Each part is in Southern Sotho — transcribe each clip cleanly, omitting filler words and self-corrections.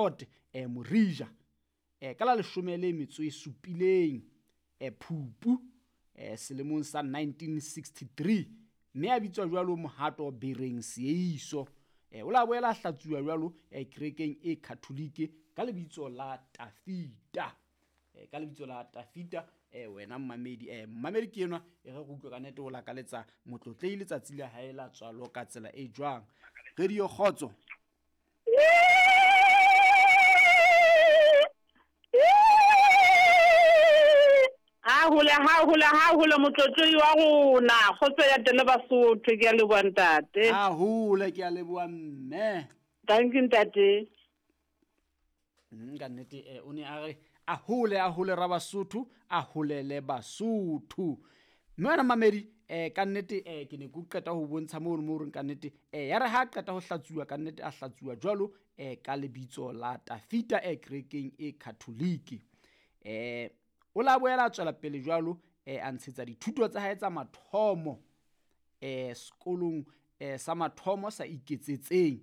Kote Morija ka la 17 Phupu selemong sa 1963, mme a bitswa jwalo Mohato Bereng Seeiso. O la boela a hlatsuwa jwalo kerekeng e Catholic ka lebitso la Tafita. Ka lebitso la Tafita. Wena mmamedi, mmamedi ke enwa e re utlwe ka nete o lakaletsa motlotlei letsatsi la hae la tswalo ka tsela e jwang. Radio Kgotso. Ha hole, ha hole, ha hole motlotloi wa rona. Kgotso ya tele Basotho, ke a leboha ntate. Ha hole, ke a leboha mme. Thank you ntate. Ka nnete o ne a re a hole, a hole ra Basotho, a holele Basotho. Mme wena mamedi, ka nnete ke ne ke qeta ho bontsha moo mo reng ka nnete ya re ha qeta ho hlatsuwa ka nnete a hlatsuwa jwalo ka lebitso la Tafita kerekeng e Catholic. O la boela a tswela pele jwalo a ntshetsa dithuto tsa hae tsa mathomo sekolong sa mathomo sa iketsetseng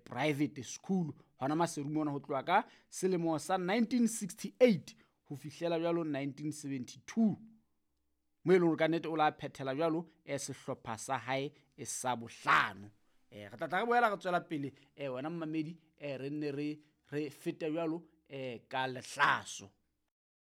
private school hona Maseru mona ho tloha ka selemo sa 1968 ho fihlela jwalo 1972, mo e leng hore ka nnete o la phethela jwalo sehlopha sa hae sa bohlano. Re tla tla re boela re tswela pele wena mmamedi, re nne re fete jwalo ka lehlaso.